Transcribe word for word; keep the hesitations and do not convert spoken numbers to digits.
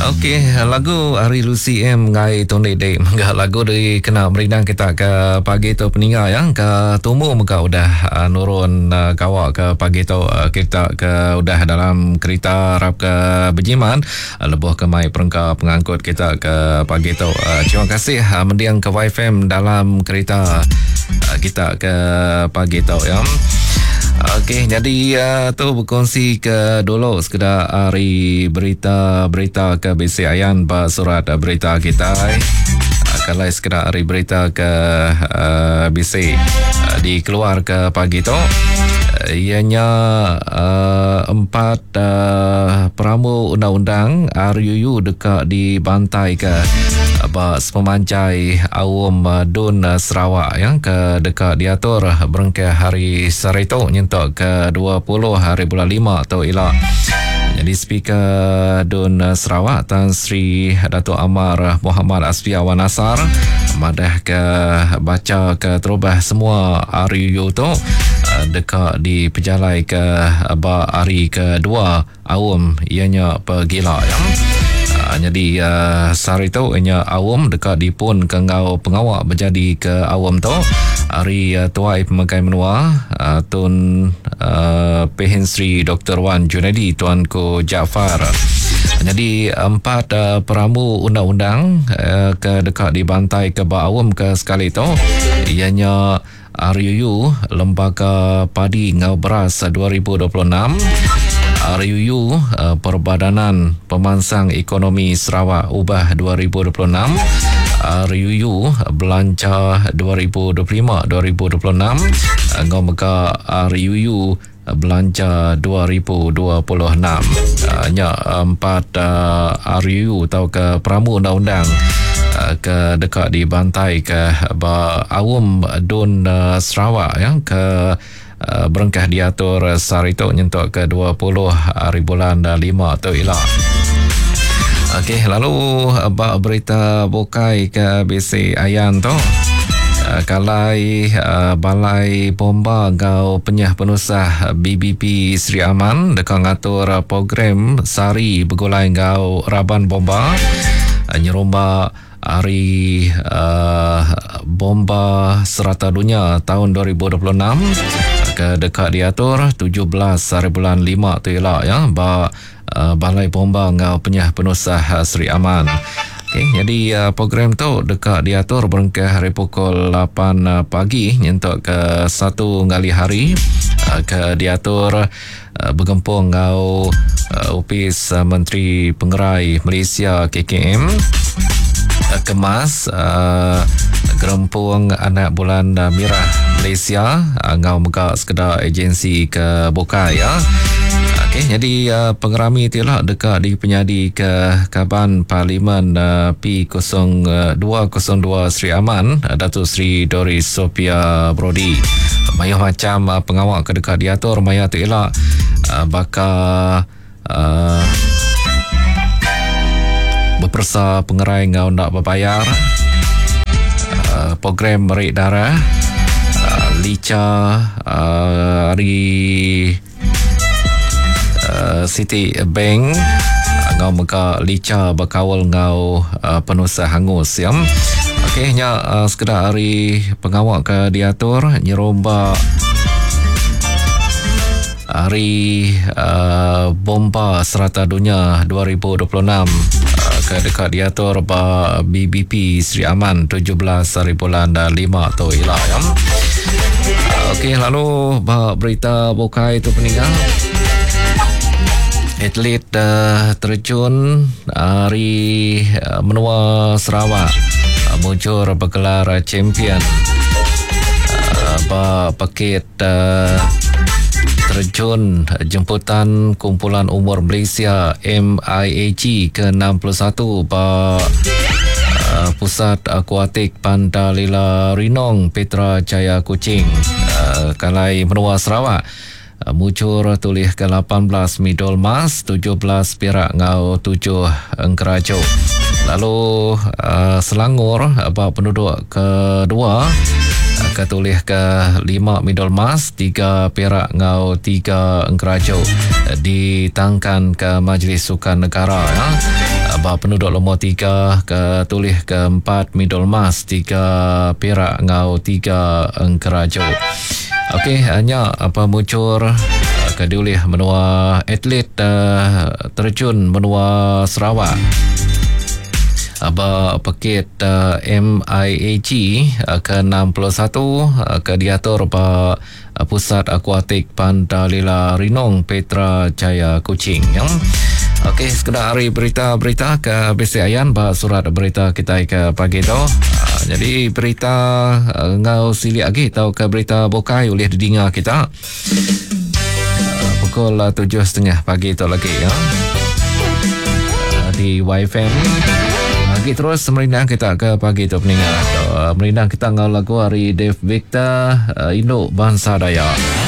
Okey, lagu ari Lucy M ngai tundi dek mega lagu di kena merindang kita ke pagi tu peninga ya ke tumu mega udah uh, nurun uh, gawa ke pagi tu uh, kita ke udah dalam kereta rap ke berjimat uh, lebuh ke mai perengka pengangkut kita ke pagi tu. Uh, terima kasih uh, mendiang ke Y F M dalam kereta uh, kita ke pagi tu ya. Okey, jadi uh, tu berkongsi ke dulu sekedar hari berita-berita ke B C Ayan ba surat berita kita. Uh, kalau sekedar hari berita ke uh, B C uh, dikeluar ke pagi tu uh, ianya uh, empat uh, peramu undang-undang R U U dekat dibantai ke ba sepemanjai awam Dun Sarawak yang ke dekat diatur berengkah hari Saritu nyentuk ke dua puluh hari bulan lima atau ila. Jadi Speaker Dun Sarawak Tan Sri Datuk Amar Muhammad Asfia Wan Nasar madah ke baca ke terubah semua R U U tu dekat dipejalai ke ba hari kedua awam ianya pergila ya. Jadi uh, sehari tu ianya awam dekat dipun ke ngau pengawak berjadi ke awam tu hari uh, tuai pemakai menua uh, Tun uh, Pehin Sri Doktor Wan Junaidi Tuanku Jaafar. Jadi empat uh, perambu undang-undang uh, ke dekat dibantai ke ba awam ke sekali tu ianya R U U Lembaga Padi Ngau Beras dua ribu dua puluh enam, R U U uh, Perbadanan Pemansang Ekonomi Sarawak Ubah dua ribu dua puluh enam, R U U Belanja dua ribu dua puluh lima dua ribu dua puluh enam, ngau mega R U U Belanja dua ribu dua puluh enam. Uh, nya empat uh, R U U atau ke peramu undang-undang uh, ke dekat dibantai ke ba awam Dun uh, Sarawak ya ke Uh, berengkah diatur sehari tu nyentuk ke dua puluh hari bulan lima tu ila. Okey, lalu bab berita bukai ke B C Ayan tu. Uh, kalai uh, Balai Bomba Gau Penyah Penusah B B P Sri Aman dekat ngatur program Sari Begulai Gau Raban Bomba uh, nyerumba hari uh, Bomba Serata Dunia tahun dua ribu dua puluh enam ke dekat diatur tujuh belas hari bulan lima tu ialah ya ba uh, Balai Bomba Ngau Penyah Penusah Sri Aman. Okey, jadi uh, program tu dekat diatur berengkah hari pukul lapan pagi nyentuk ke satu ngali hari uh, ke diatur uh, bergempung ngau uh, Opis uh, Menteri Pengerai Malaysia K K M Kemas uh, Gerempung Anak Bulan Merah Malaysia uh, ngau mega sekedar agensi ke bukai ya. Okey, jadi uh, pengerami itulah dekat di penyadi ke Kaban Parlimen uh, P kosong dua kosong dua Sri Aman uh, Datuk Sri Doris Sophia Brody. Mayuh macam uh, pengawak ke dekat diatur maya tu elak uh, baka uh, berpersa pengerai ngau nak berbayar uh, program merik darah uh, lica uh, hari uh, City Bank uh, ngau mega lica berkawal ngau uh, penusah hangus ya. Okey nya uh, sekedar hari pengawak ke diatur nyeromba hari uh, Bomba Serata Dunia dua ribu dua puluh enam uh, ke dekat diatur ba B B P Sri Aman tujuh belas hari bulan lima tu ila ya. Okey, lalu ba berita bukai tu peninggal atlet uh, terjun hari uh, menua Sarawak uh, muncul bergelar champion uh, ba paket uh, terjun jemputan kumpulan umur Malaysia M I A G ke enam puluh satu ba uh, Pusat Akuatik Pantalila Rinong Petra Jaya Kuching uh, kalai menua Sarawak uh, muncul tulis ke lapan belas medal emas, tujuh belas perak ngau tujuh engkerajo. Lalu uh, Selangor ba penduduk kedua ketulis ke lima medal emas, tiga perak ngau tiga engkerajo ditangkan ke Majlis Sukan Negara ya. Ba penduduk nombor tiga ke tulih ke empat medal emas, tiga perak ngau tiga engkeraju. Okey, hanya apa muncul ke diulih menua atlet uh, terjun menua Sarawak. Ba pekit uh, M I A G uh, ke enam puluh satu uh, ke diatur ba uh, Pusat Akuatik Pantalila Rinong Petra Jaya Kuching. Ya. Okey, sekedar hari berita-berita ke B C Ayan ba surat berita kita ke pagi tu. Uh, jadi berita uh, ngau silik lagi atau ke berita bukai oleh didengar kita. Uh, pukul tujuh setengah pagi tu lagi ya. Uh, di Y F M. Lagi terus merindang kita ke pagi tu peninggal. Uh, merindang kita ngau lagu hari Dave Victor, uh, Induk Bangsa Dayak.